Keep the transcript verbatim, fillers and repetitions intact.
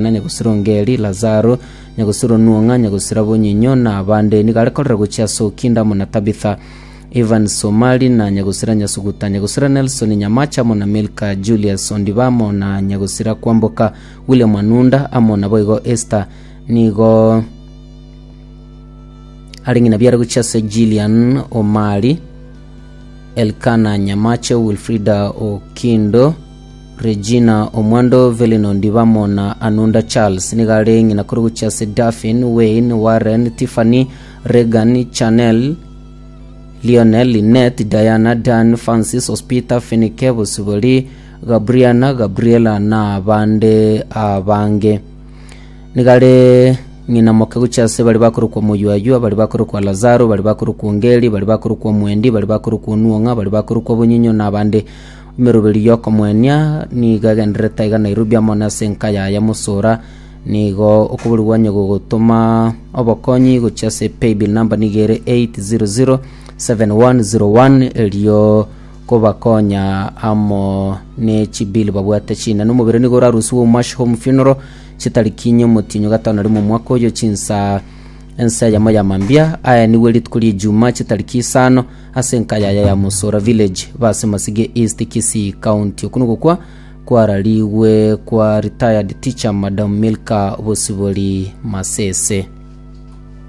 Na nyagosira Ongeri, Lazaro, nyagosira Onuong'a, nyagosira Bonyinyo, na abande. Nigo are korera gochia ase Okinda amo na Tabitha, Evans Omari, na nyagosira Nyasuguta, nyagosira Nelson Nyamache amo na Milka Julius Ondiba amo na nyagosira Kwamboka William Anunda amo naboigo Esther. Nigo are ng'ina biare gochia ase Gillian Omari, Elkana Nyamache, Wilfrida Okindo, Regina Omwando, Velin Ondiba amo na Anunda Charles. Nigo are ng'ina kore gochia ase Daphne, Wayne, Warren, Tiffany, Regan, Chanel, Lionel, Lynette, Diana, Dan, Francis, Hospita, Finike, Bosibori, Gabriana, Gabriela na abande abange. Nigo are ng'ina moke gochia ase baria bakorokwa Moyuayua, baria bakorokwa Lazaro, baria bakorokwa Ongeri, baria bakorokwa Omwendi, baria bakorokwa Onuong'a, baria bakorokwa Bonyinyo na abande. Emeroberi y'okomoenia nigo egendererete aiga Nairobi amo na ase enka yaye Mosora. Nigo okoborigwa onye gogotoma obokonyi gochia ase paybill number nigo ere eight zero zero seven one zero one erio kobakonya amo ne chibill babwate chinene. Omobere nigo orarusiwe Umash Home Funeral chitariki inye omotienyi gatano na rimo omwaka oyo chinsa ense eyemo ya mambia aya nigo rituko ria Ijumaa chitariki isano ase enka yaye ya Mosora Village base Masige East Kisii County. Okwo nogokwa kwararigwe kwa retired teacher Madam Milka Bosibori Masese.